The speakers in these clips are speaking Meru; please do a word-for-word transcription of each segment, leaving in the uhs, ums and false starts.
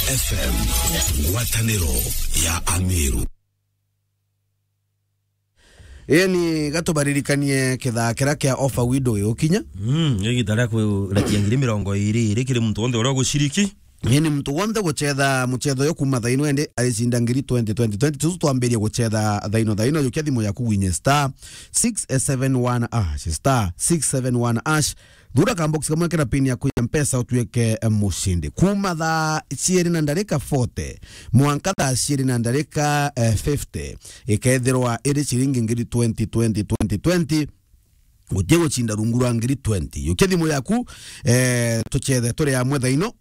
F M, ngwataniro ya Ameru. Eni, gatubaririkanie kithaa kiria kia offer window gigukinya. Mm, ni igita ria kurekia ngiri mirongo iri iri kiri muntu wonthe uria uguciriki. Eni, muntu wonthe gucetha mucetho uyu kuuma thaino ende aricinda ngiri twenty, twenty, twenty. Tusu twambirie gucetha thaino, thaino, yukia thimu yaku winye star six seven one hash, star six seven one hash. Thura ka box kamwe kena pin yaku ya Mpesa utuike, eh, mucindi. Kuuma thaa ciiri na ndarika forty, mwanka thaa ciiri na ndarika, eh, fifty, ikethirwa iri ciringi ngiri twenty, twenty, twenty, twenty. Guti gucinda rungu rwa ngiri twenty. Yukia thimu yaku, eh, tucethe turi amwe thaino,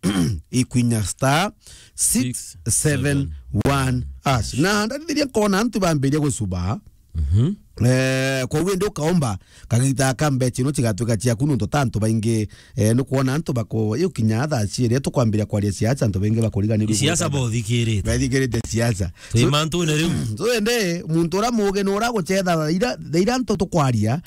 ikwinya star six seven one hash. Na ndarithiria nkona antu bambiria gucuba. Mhm. Eh, kwa uwe ndi ukaomba, kagita ka mbecha ino cigatwika ciaku nontu ta antu baingi, eh, nukwona antu bako, iu kinya thaa ciiri tukwambiria kwaria siasa, antu baingi bakuriganirua siasa gwita bothikirite. Bathikirite siasa. Twi So, mantune riu. So ende, muntu uria muge no uria gucetha thaa ira, thaa ira antu tukwaria.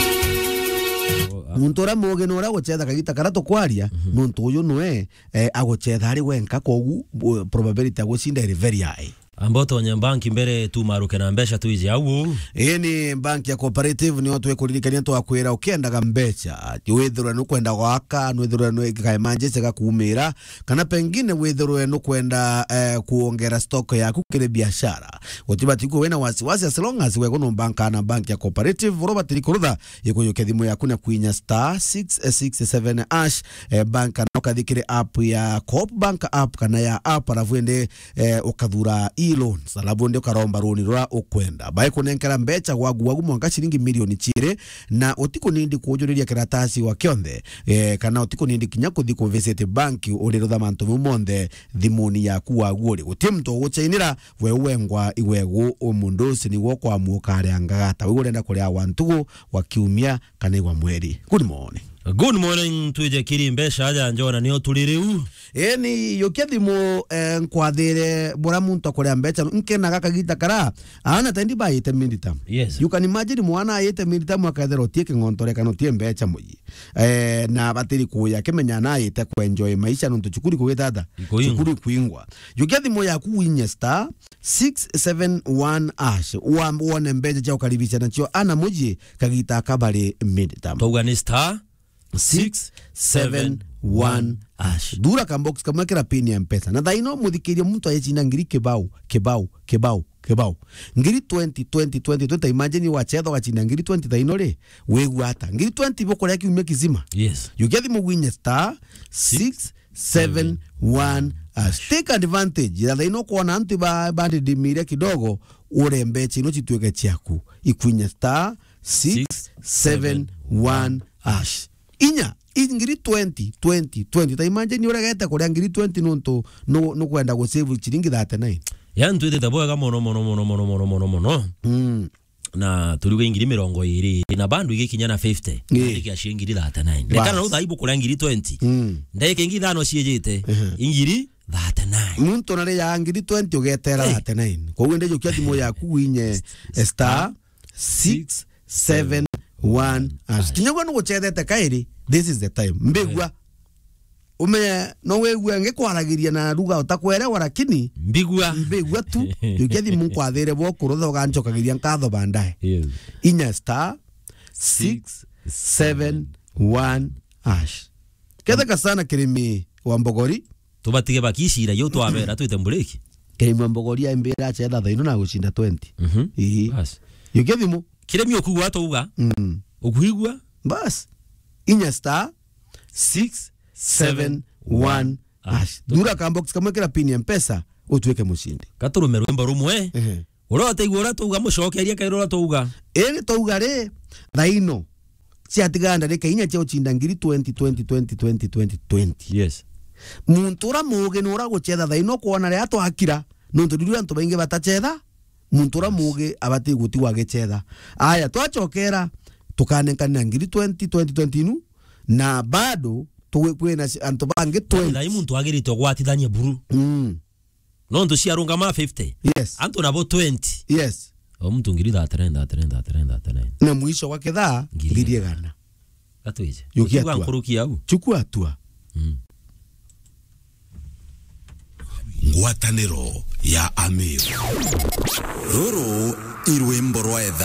Oh, ah. Muntu uria muge no uria gucetha kagita karia tukwaria, Mhm. nontu uyu nwe, eh, agucetha ari wenka, kogu, bu-, probability ya gucinda iri very high. Amba utonye banki mbere tumaruke na mbeca twije au. Ii ni banki ya Cooperative, nio twikuririkania twakwira ukiendaga mbeca, withirwe nukwenda gwaka, nwithirwe nwi ka emergency gakuumira, kana pengine withirwe nukwenda, eh, kuongera stock yaku kiri biashara. Utibati kuwa wina wasiwasi as long as we guno banka na banki ya Cooperative, uria ubatiri kurutha, ikuyukia thimu yaku na kwinya star six six seven hash, eh, banka na ukathi kiri app ya Coop Bank app kana ya app, alafu ende eh, ukathura e-loans, alafu ndi ukaromba runi ruria ukwenda. Baikunenkera mbeca gwaku gwaku mwanka ciringi milioni ciiri, na utikunindi kujuriria kiratasi wa kionthe, eh, kana utikunindi kinya kuthi ku visit bank, urirutha mantu mau monthe thimuni yaku waku uri. Guti muntu uguchainira, we wengwa igwegu, umundu ucio nigwo kwamuka aria ngagata. We urenda kuria wa ntugu, wa kiumia, kana igwa mweri. Good morning. Good morning, twije kiri mbeca aja njona nio turi riu. Eni, yukia thimu, eh, nkwathire bura muntu akuria mbeca, nkenaga kagita kara, aana tendi baite midterm. Yes. You can imagine mwana aite midterm akethira utie king'ontore kana utie mbeca muyi. Eh, na batiri kuya kimenya na aite ku enjoy maisha nontu cukuru kugitata. Ikuingwa. Cukuru kuingwa. Yukia thimu yaku winye star six seven one hash. Wa-, wone mbeca cia ukaribisha nacio ana muji kagita kabari midterm. Twauga ni star six seven one hash. Thura ka box kamwe kira pin ya Mpesa. Na thaino muthikiria muntu ayecinda ngiri kibao, kibao, kibao, kibao. Ngiri twenty, twenty, twenty, twenty. Imagine wachetha ugacinda ngiri twenty thaino ri, wigua ata? Ngiri twenty bukuria kiumia kizima. Yes. Yukia thimu winye star six seven one hash. Take advantage. Ya thaino kwona antu ba, bandidimire kidogo, ure mbecha ino cituike ciaku. Ikwinya star six seven one hash. Inya, i ngiri twenty, twenty, twenty. Ta imagine uregete kuria ngiri twenty nontu nu-, nukwenda gu save ciringi thirty-nine. Yani twitite bwega mono, mono, mono. Mm. Na turiuga ingiri mirongo iri, na bado igikinya na fifty, Ii. Ndagika cia ingiri thirty-nine. Bas. Rekana rau thaa ibu kuria ngiri twenty. Mm. Ndagika ingi ithano ciijite, Ehe. Ingiri thirty-nine. Muntu nari ya ngiri twenty ugetera Hey. Thirty-nine. Koguo ndejukia thimu yaku winye star six seven one hash. Kinya gwe nuguchethete kairi, this is the time. Mbigua. Hey. Umenye, no wigue ngikwaragiria na lugha utakwerewa, lakini Mbigua. Mbigua tu. Yukia thimu nkwathire bo kurutha uganchokagiria nkatho baadaye. Yes. Inya star six seven one hash. Ketheka sana kirimi wa mbogori. Tubatige bakicira, yo twabera twite mburiki. Kirimi wa mbogori aimbira achetha thaino na gucinda twenty. Mhm. Ii. Bas. Yukia thimu. Kirimi ukugwa twauga. Mm. Ukuigua? Bas. Inya star six seven one hash. Thura ka box kamwe kira pin ya Mpesa, utuike mucindi. Katurume rwimbo rumwe. Ehe. Uria utaigua uria twauga, mucokerie kairi uria twauga. Iri twauga ri, thaino, ciatigara ndarika inya cia ucinda ngiri twenty, twenty, twenty, twenty, twenty, twenty. Yes. Muntu uria muugi ni uria guchetha thaino kwona riria twakira, nontu riu antu baingi batachetha, muntu uria muugi abati gutigwa agichetha. Aya, twachokera, tukanenkanira ngiri twenty, twenty, twenty inu, na bado tu-, kwina ci-, antu bangi twenty. Thai muntu agirite gwatithania buru. Mm. Nontu ciarungama fifty. Yes. Antu nabo twenty. Yes. O muntu ngiri thirty-nine, thirty-nine, thirty-nine, thirty-nine. Na mwisho wa kithaa, ngiri igana. Ngiri igana. Gatwije. Yukia hatua. Nkuruki au. Chukua hatua. Mm. Ngwataniro ya Amiru. Ruru i rwimbo rwa etha.